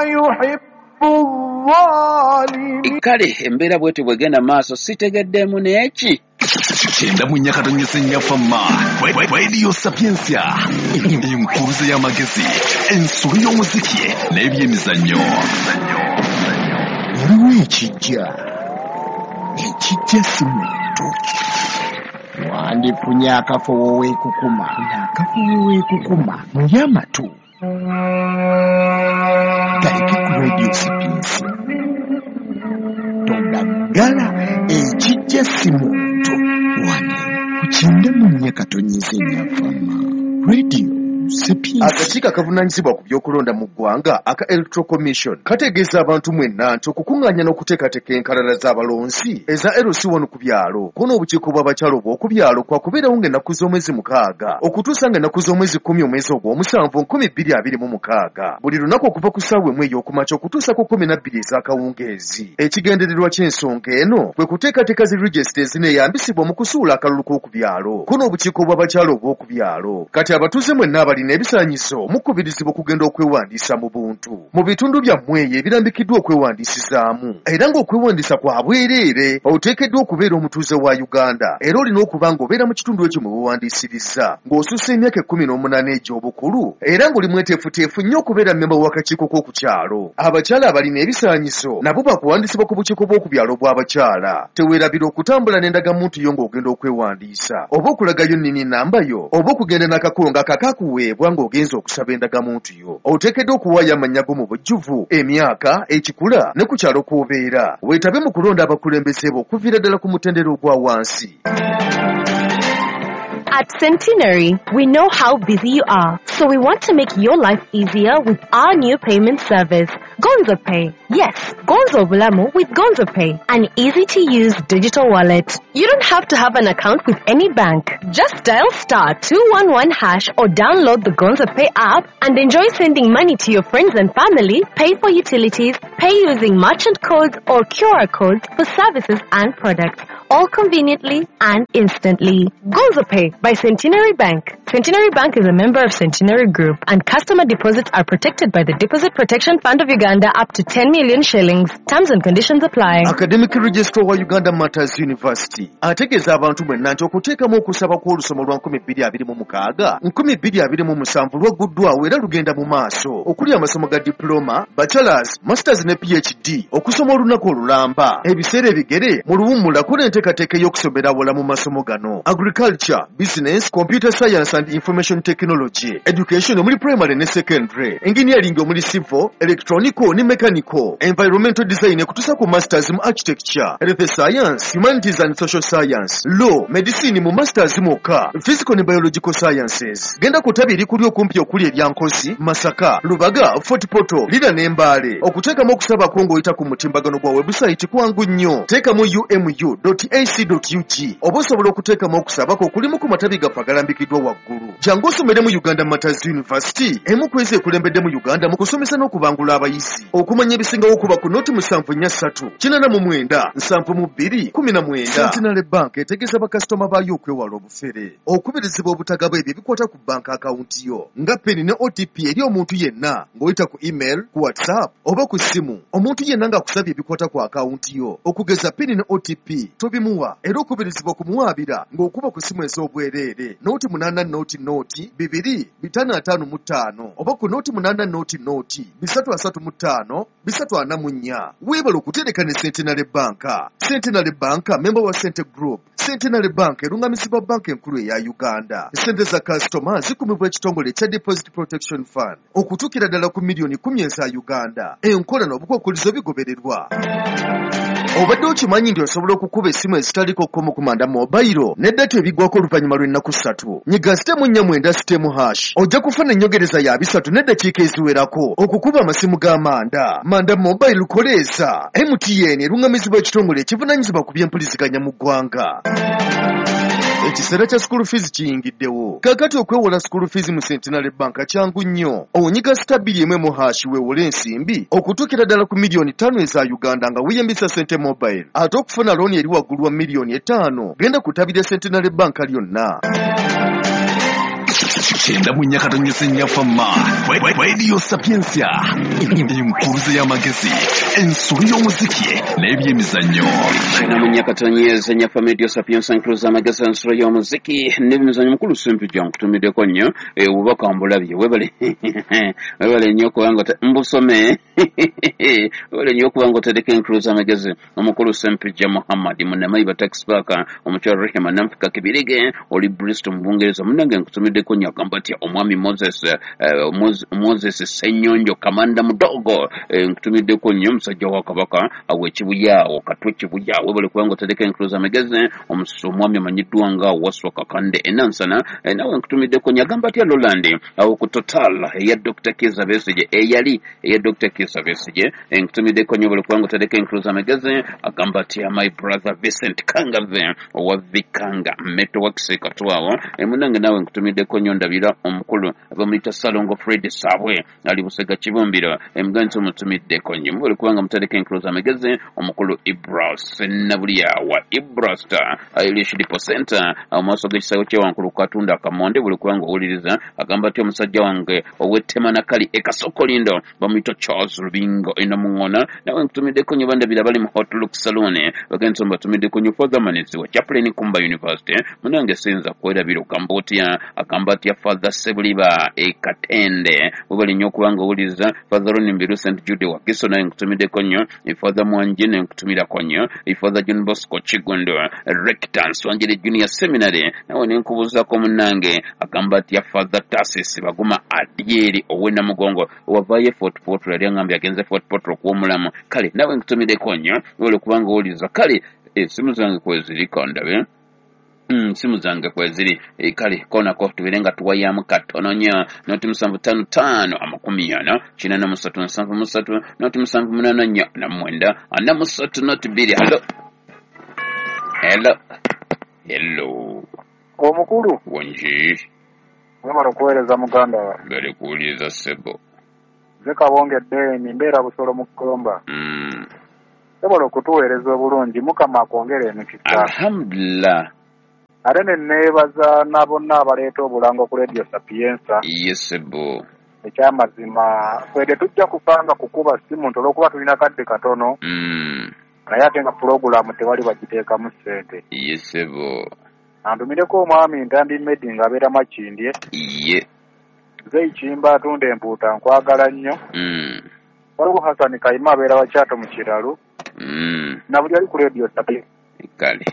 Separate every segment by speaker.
Speaker 1: يحب الظالمين.
Speaker 2: Kale embeera bwetyo bwegenda maaso, sitegeddemu n'eki.
Speaker 3: 94.4 Fama Radio Sapientia, enkuruze y'amagezi, ensolo y'omuziki n'ebyemizannyo.
Speaker 4: Waliwo ekijja, ekijja si muntu. Wandifunye akafo weekukuma, akafo weekukuma muli amatu galeke ku Radio Sapientia. Togaggala, ekijja si muntu. Wano ku 94.4 Fama Radio Sapientia.
Speaker 5: Akakiiko akavunaanyizibwa ku by'okulonda mu ggwanga aka Electoral Commission kategeeza abantu mwenna nti okukuŋŋaanya n'okuteekateeka enkalala z'abalonzi eza LC1 ku byalo ko n'obukiiko bw'abakyala obw'oku byalo kwakubeerawo ng'ennaku z'omwezi 6 okutuusa ng'ennaku z'omwezi 10 omwezi ogw'omusanvu 2026, buli lunaku okuva ku ssaawa 1 ey'okumakya okutuusa ku 12 ez'akawungeezi. Ekigendererwa ky'ensonga eno kwe kuteekateeka zi regisita ezineeyambisibwa mu kusuula akalulu k'oku byalo ko n'obukiiko bw'abakyala obw'oku byalo. Kati abatuuze mwenna abalina ebisaanyizo mukubirizibwa okugenda okwewandiisa mu buntu mu bitundu byammwe eyo ebirambikiddwa okwewandiisizaamu, era ng'okwewandiisa kwa bwereere. Oteekeddwa okubeera omutuuze wa Uganda era olina okuba ng'obeera mu kitundu ekyo mwe weewandiisiriza, ng'osussa emyaka 18 egy'obukulu, era ng'oli mweteefuteefu nnyo okubeera mmemba w'akakiiko k'oku kyalo. Abakyala abalina ebisaanyizo nabo bakuwandiisibwa ku bukiiko bw'oku byalo bw'abakyala. Teweerabira okutambula n'endagamuntu yo ng'ogenda okwewandiisa, oba okulagayo nnini namba yo, oba okugenda n'akakongo akakakuweebwa ng'ogenza okusaba endagamuntu yo. Oteekeddwa okuwaayo amannya go mu bujjuvu, emyaka, ekikula ne ku kyalo kw'obeera. Weetabe mu kulonda abakulembeze bo okuviira ddala ku mutendera ogwa wansi.
Speaker 6: At Centenary, we know how busy you are, so we want to make your life easier with our new payment service, Gonzo Pay. Yes, Gonzo Bulamu with Gonzo Pay, an easy-to-use digital wallet. You don't have to have an account with any bank. Just dial *211# or download the Gonzo Pay app and enjoy sending money to your friends and family, pay for utilities, pay using merchant codes or QR codes for services and products, all conveniently and instantly. Gonzo Pay by Centenary Bank. Centenary Bank is a member of Centenary Group, and customer deposits are protected by the Deposit Protection Fund of Uganda up to 10 million shillings. Terms and conditions apply.
Speaker 5: Academic Registrar wa Uganda Martyrs University ategeeza abantu mwenna nti okuteekamu okusaba kw'olusoma lwa 2026 2027 lwagguddwawo era lugenda mu maaso, okuli amasomo ga diploma, bachelors, masters ne PhD, okusoma olunaku olulamba, ebiseera ebigere mu luwummula kola enteekateeka ey'okusomera awala mu masomo gano: agriculture, business, computer science and information technology, education omuli primary ne secondary, engineering omuli civil, electronical ne mechanical, environmental design ekutuusa ku masters mu architecture, health science, humanities and social science, law, medicine mu masters mwokka, physical ne biological sciences. Genda ku ttabi erikuli okumpi okuli erya Nkozi, Masaka, Lubaga, Fort Portal, Lira ne Mbale. Okuteekamu okusabako ng'oyita ku mutimbagano gwa webusayiti kwangu nnyo. Teekamu umu.ac.ug oba osobola okuteekamu okusabako okulimu ku matabi gaffe agalambikiddwa waggulu. Jangu osomere mu Uganda Martyrs University, emu ku ezo ekulembedde mu Uganda mu kusomesa n'okubangula abayizi. Okumanya ebisingawo okuba ku 073 89 72 19. Centenary Bank etegeeza bakasitoma baayo okwewala obufere, okubirizibwa obutagaba ebyo ebikwata ku banka akawunti yo nga PIN ne OTP eri omuntu yenna ng'oyita ku email, ku WhatsApp oba ku ssimu. Omuntu yenna ng'akusabye ebikwata ku akawunti yo okugeza PIN ne OTP tobimuwa, era okubirizibwa okumuwaabira ng'okuba ku ssimu ez'obwereere 080 0 2 555 oba ku 080 0 335 344. Weebale okutereka ne Centenary Bank. Centenary Bank member wa Cente Group. Centenary Bank erungamizibwa banka enkulu eya Uganda. Sente za kasitoma zikumibwa ekitongole ekya Deposit Protection Fund okutuukira ddala ku miliyoni 10 eza Uganda. Enkola n'obukwakkulizo bigobererwa. Obadde okimanyi nti osobola okukuba essimu ezitaliko kkomo ku Manda Mobile ne data ebiggwako oluvannyuma lw'ennaku 3? Nyiga *490*# ojja kufuna ennyogereza ya 3 n'eddakiika eziwerako okukuba amasimu ga Manda. Manda Mobile koleeza. MTN erungamizibwa ekitongole ekivunaanyizibwa ku by'empuliziganya mu ggwanga. Ekiseera kya school fees kiyingiddewo. Kaakati okwewola school fees mu Centenary Bank kyangu nnyo. Onyiga *2 # weewole ensimbi okutuukira ddala ku miliyoni 5 eza Uganda nga weeyambisa Sente Mobile. Ate okufuna looni eri waggulu wa miliyoni 5, genda ku ttabi lya Centenary Bank lyonna.
Speaker 3: 94.4 Fama Radio Sapientia, enkuruze y'amagezi, ensolo y'omuziki n'ebyemizannyo.
Speaker 2: 94.4 Fama Radio Sapientia, enkuruze y'amagezi, ensolo y'omuziki n'ebyemizannyo. Mukulu Sempijja, nkutumiddeko nnyo obubaka mbulabye, webale webale nnyo okubanga mbusome, webale nnyo okubanga otereka enkuruze y'amagezi. Omukulu Sempijja Muhammad Munnamayiba Tax Park, omukyala Rehema Nanfika Kibirige oli Bristol mu Bungereza, munnange nkutumiddeko nnyo. Agamba atya omwami Moses Ssenyonjo Kamanda Mudogo, nkutumiddeko nnyo omusajja wa Kabaka awo Ekibuyaawo Katwe Kibuyaawo, webale kubanga otereka enkuruze y'amagezi. Omwami amanyiddwa nga Waswa Kakande Enansana, nawe nkutumiddeko nnyo. Agamba atya Roland awo ku Total eya Dr. Kizza Besigye, eyali eya Dr. Kizza Besigye, nkutumiddeko nnyo, webale kubanga otereka enkuruze y'amagezi. Agamba atya my brother Vincent Kangave owa Vikanga Metalworks Katwawo, munange nawe nkutumiddeko nnyo. Ndabira omukulu bamuyita Salongo Fred Sabwe ali Busega Kibumbiro, muganzi omutumiddeko nnyo, mubale kubanga mutereka enkuruze y'amagezi. Omukulu Ibra Sennabulya wa Ibra Star Irish Depot Center mu maaso g'ekisawo kyewankulu Katunda Akamonde, buli kubanga owuliriza. Agamba atya omusajja wange ow'ettema nakali e Kasokolindo bamuyita Charles Rubingo Enamuŋŋona, nawe nkutumiddeko nnyo. Bandabira bali mu Hot Look Saloon, bagenzi mbatumiddeko nnyo. Father Manezi wa Chaplain Kumba University, munange sinza kwerabira. Ogamba otya? Agamba atya Father Sebuliba e Katende, webale nnyo okubanga owuliriza. Father Ronnie Mbiru St Jude Wakiso, naye nkutumiddeko nnyo. Father Mwanje naye nkutumirako nnyo. Father John Bosco Kigondo Rector Nswanjere Junior Seminary, nawe nenkubuuzaako munnange. Agamba atya Father Tarsis Baguma Adyeri ow'e Namugongo, wavaayo Fort Portal, yali angambye agenze Fort Portal okuwa omulamu, kale nawe nkutumiddeko nnyo, webale okubanga owuliriza. Kale esimu zange kweziri, kandabe simu zange kweziri. Kale konako tubeere nga tuwayamu katono nnyo. 075 55 40 83 078 4 94 0 2. Hello, hello, hello.
Speaker 7: Omukulu.
Speaker 2: Wongi.
Speaker 7: Webale okuweereza muganda wange.
Speaker 2: Bali kuwuliriza ssebo.
Speaker 7: Nze Kabonge Deni, mbeera Busolo mu Ggomba. Sobola okutuweereza obulungi, Mukama akwongere emikisa.
Speaker 2: Alhamdulillah.
Speaker 7: Ate ne neebaza na bonna abaleeta obulango ku Radio Sapienza.
Speaker 2: Ye ssebo.
Speaker 7: Ekyamazima ffe tetujja kupanga kukuba ssimu nti olw'okuba tulina kadde katono, naye ate nga pulogulaamu tewali bagiteekamu ssente.
Speaker 2: Ye ssebo.
Speaker 7: Antumireko omwami Ntambi Medi ng'abeera Makindye.
Speaker 2: Ye.
Speaker 7: Nze Ikimba atunda empuuta, nkwagala nnyo. Waliwo Hasani Kayima abeera Wakyato mu Kiralu. Na buli ali ku Radio Sapienza.
Speaker 2: Kale.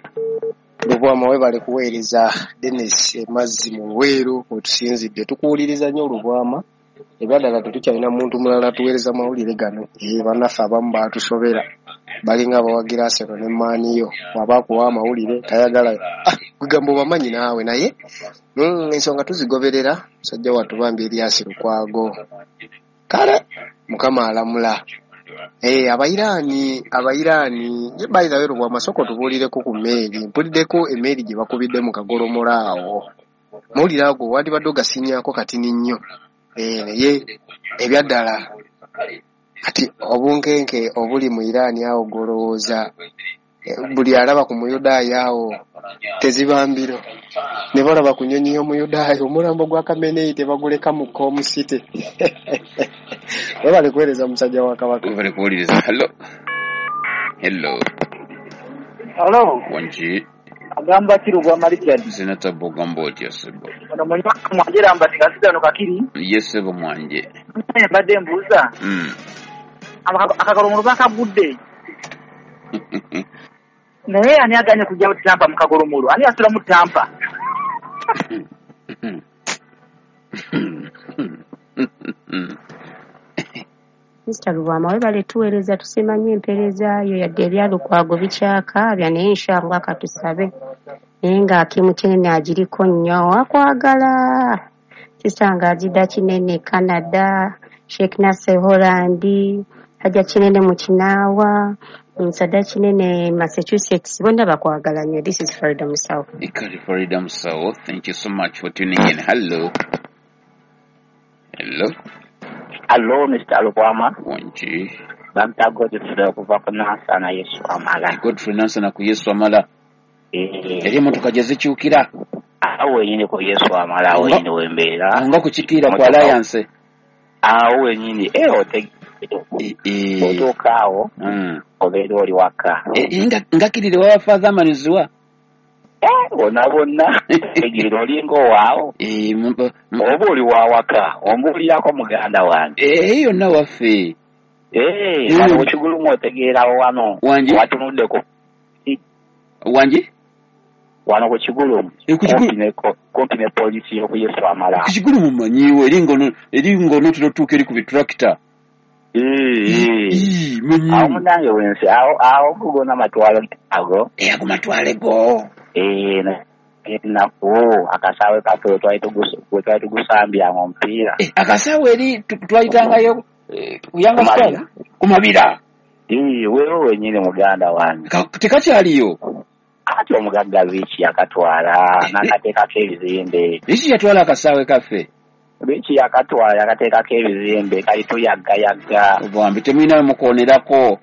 Speaker 8: Lubwama, webale kuweereza. Denis Emazzi mu Luweero wetusinzidde, tukuwuliriza nnyo Lubwama. Ebyaddala tetukyalina muntu mulala tuweereza mawulire gano. Bannaffe abamu baatusobera, balinga abawagira Arsenal ne Man U, bw'aba akuwa amawulire tayagala kugamba obamanyi naawe, naye ensonga tuzigoberera. Musajja wattu bambi Erias Lukwago, kale Mukama alamula. Abayiraani ye bayirawe. Lubwama, sooka otubuulireko ku mmeeri, mpuliddeko emmeeri gye bakubidde mu kagolomola awo. Mawulire ago wandibadde ogasinyaako katini nnyo. Naye ebyaddala kati obunkenke obuli mu Iraani awo, gw'olowooza buli alaba ku Muyudaaya awo tezibambiro ne balaba ku nnyonyi y'Omuyudaaya, omulambo gwa Kameneyi tebaguleka mu Komusite. Webale kuweereza musajja wa Kabaka.
Speaker 2: Webale kuwuliriza. Hello, hello.
Speaker 9: Hello.
Speaker 2: Wangi.
Speaker 9: Agamba ki Lubwama Richard?
Speaker 2: Sina tabu, ogamba otya ssebo?
Speaker 9: Ono munywa Mwanje Lambert Kasigano Kakiri.
Speaker 2: Ye ssebo Mwanje.
Speaker 9: Mbadde mbuuza. Akagolomolo bakagudde. Naye ani aganye kujja Tampa mu kagolomolo? Ani asula mu Tampa?
Speaker 10: Mr. Lubwama, webale tuweereza, tusiima nnyo empeereza yo, yadde ebya Lukwago bikyakaabya, naye inshallah katusabe. Naye nga Akimu Kinene agiriko nnyo, akwagala. Sisanga Agida Kinene Canada, Sheikh Nasser Holland, Hajja Kinene mu Kinaawa, Sada Kinene Massachusetts, bonna bakwagala nnyo. This is Farida Musawo.
Speaker 2: Kale Farida Musawo, thank you so much for tuning in. Hello. Hello.
Speaker 9: Hello, Mr. Lubwama.
Speaker 2: Wangi.
Speaker 9: Bamta Godfrey okuva ku Nansana Yesu Amala.
Speaker 2: Godfrey Nansana ku Yesu Amala. Eri emmotoka gye zikyukira.
Speaker 9: Awo wenyini ku Yesu amala, awo wenyini wembeera.
Speaker 2: Nga kukikiira ku Alliance.
Speaker 9: Awo wenyini otuuka awo obeera oli waka.
Speaker 2: Ngakirire wa Father Maniziwa.
Speaker 9: Bonna bonna tegirira olinga owaawo. Oba oli wawaka ombuulirako muganda wange.
Speaker 2: Yonna waffe.
Speaker 9: Wano ku Kigulumu otegeerawo wano. Watunuddeko.
Speaker 2: Wangi?
Speaker 9: Wano ku Kigulumu. Kumpi ne poliisi y'oku Yesu amala.
Speaker 2: Ku Kigulumu mmanyiiwo eri ng'onootera otuuka eri ku bitulakita.
Speaker 9: Awo munnange wensi awo gona matwalo ago.
Speaker 2: Ago matwale go.
Speaker 9: Ennaku akasaawe kaffe we twali tugusambyanga omupiira.
Speaker 2: Akasaawe eri twayitangayo ku Yanga Stars ku Mabira.
Speaker 9: Weewo wennyini muganda wange.
Speaker 2: Tekakyaliyo.
Speaker 9: Ati omugagga Rich yakatwala n'akateekako ebizimbe.
Speaker 2: Rich yatwala akasaawe kaffe.
Speaker 9: Rich yakatwala yakateekako ebizimbe kali tuyaggayagga.
Speaker 2: Bambi temulina we mukoonerako.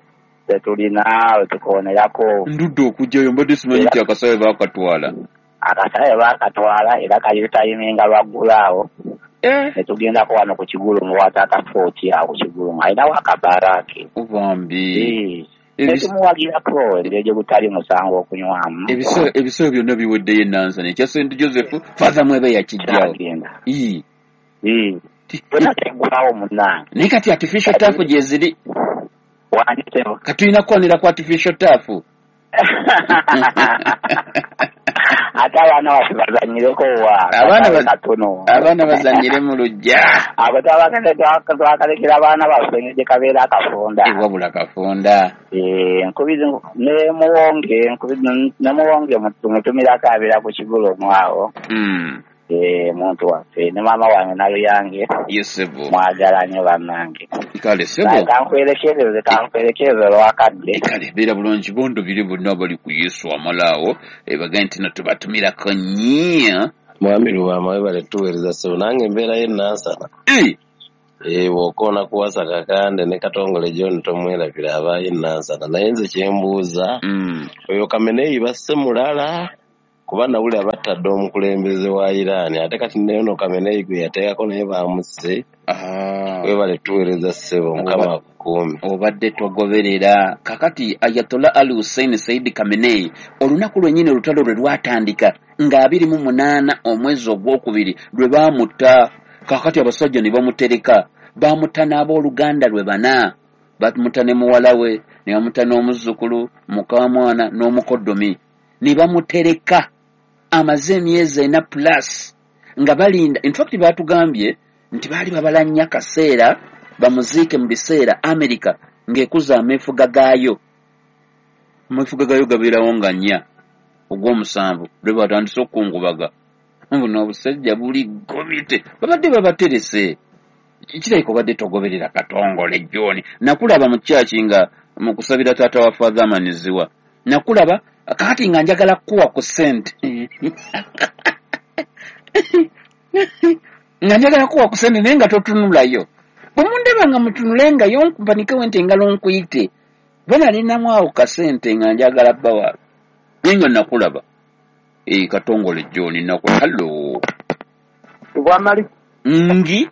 Speaker 9: Tetulina we tukoonerako.
Speaker 2: Ndudde okujjayo mbadde simanyi nti akasaawe baakatwala.
Speaker 9: Akasaawe baakatwala era kali tutayiminga lwaggulu awo. Ne tugendako wano ku Kigulumu wa taata Footi awo ku Kigulumu alinawo akabaala ke.
Speaker 2: Bambi.
Speaker 9: Netumuwagirako engeri gye gutali musango okunywamu.
Speaker 2: Ebiseera byonna biweddeyo Nansana ekya St Joseph Father Mwebe yakijjawo.
Speaker 9: Byonna teggulawo munnange.
Speaker 2: Naye kati artificial turf gye ziri. Kati tulina kukoonera ku artificial turf.
Speaker 9: Ate abaana baffe bazannyireko wa?
Speaker 2: Abaana bazannyire mu luggya.
Speaker 9: Abo twakalekera abaana baffe engeri gye kabeera akafunda.
Speaker 2: Wabula kafunda.
Speaker 9: Ne Muwonge tumutumirako abeera ku Kigulumu awo. Muntu waffe ne maama wange Naluyange.
Speaker 2: Yesebo.
Speaker 9: Mwagala nnyo bannange.
Speaker 2: Kale sebo.
Speaker 9: Kankwerekereze olwakadde.
Speaker 2: Kale beera bulungi bondo biri bonna bali ku Yesu amalaawo bagaye nti no tubatumirako nnyo.
Speaker 11: Mwami Lubwama webale tuweereza ssebo nange embeera ye Nansana. Bw'okoona kuwasa Kakande ne Katongole John tomwerabira abaayo Nansana naye nze kyembuuza oyo Khamenei basse mulala kuba nawulira battadde omukulembeze wa Iran ate kati neono Khamenei gwe yateekako naye baamusse. Webale tuweereza ssebo Mukama akukuume.
Speaker 2: Obadde togoberera. Kakati Ayatollah Ali Hussein Said Khamenei olunaku lwennyini olutalo lwe lwatandika nga 28 omwezi ogwokubiri lwe baamutta. Kakati abasajja ne bamutereka, baamutta n'abooluganda lwe bana, bamutta ne muwala we, ne bamuta n'omuzzukulu, mukamwana n'omukoddomi, ne bamutereka amaze emyezi 4 plus nga balinda. In fact baatugambye nti baali babala nnyo akaseera bamuziike mu biseera Amerika ng'ekuza ameefuga gaayo. Ameefuga gaayo gabeerawo nga 4 ogw'omusanvu lwe batandise okukungubaga. Buno obusajja buli gobite babadde babaterese. Kirabika obadde togoberera Katongole John. Nakulaba mu kyaki nga mu kusabira taata wa Father Maniziwa. Nakulaba kakati nga njagala kuwa ku ssente. Nga njagala kuwa ku ssente naye nga totunulayo. Bwe mundaba nga mutunulengayo nkumpanikewo nti engalo nkuyite. Bwe nalinamu awo kasente nga njagala bbawa. Naye nga nakulaba. Katongole John nakulaba. Hello.
Speaker 7: Bwamali.
Speaker 2: Ngi.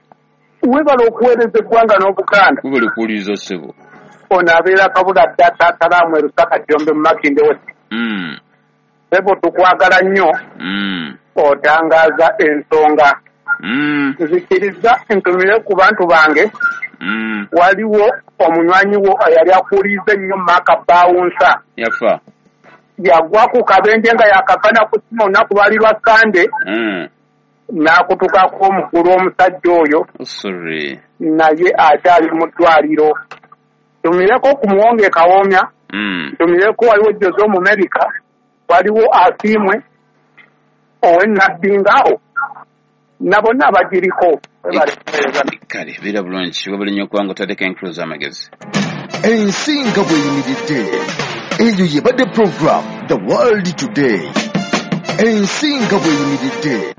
Speaker 7: Webale okuweereza eggwanga n'Obuganda.
Speaker 2: Webale kuwuliriza ssebo.
Speaker 7: Ono abeera Kabula dda Taata e Lusaka Jjombe mu Makindye West. Ssebo tukwagala nnyo. Otangaaza ensonga. Nzikiriza ntumire ku bantu bange. Waliwo omunywanyi wo eyali akuwuliriza ennyo Mark Bawunsa.
Speaker 2: Yafa.
Speaker 7: Yagwa ku kabenje nga yakava na ku ssimu olunaku lwali lwa Ssande. N'akutukako omukulu omusajja oyo.
Speaker 2: Sorry.
Speaker 7: Naye akyali mu ddwaliro. Tumireko ku Muwonge Kawoomya. Tumireko waliwo Jose Omumerika, waliwo Asiimwe ow'Ennabbinga awo na bonna abagiriko.
Speaker 2: Kale beera bulungi webale nnyo okubanga otaddeko enkulu z'amagezi.
Speaker 5: Ensi nga bw'eyimiridde. Eyo yebadde program The World Today. Ensi nga bw'eyimiridde.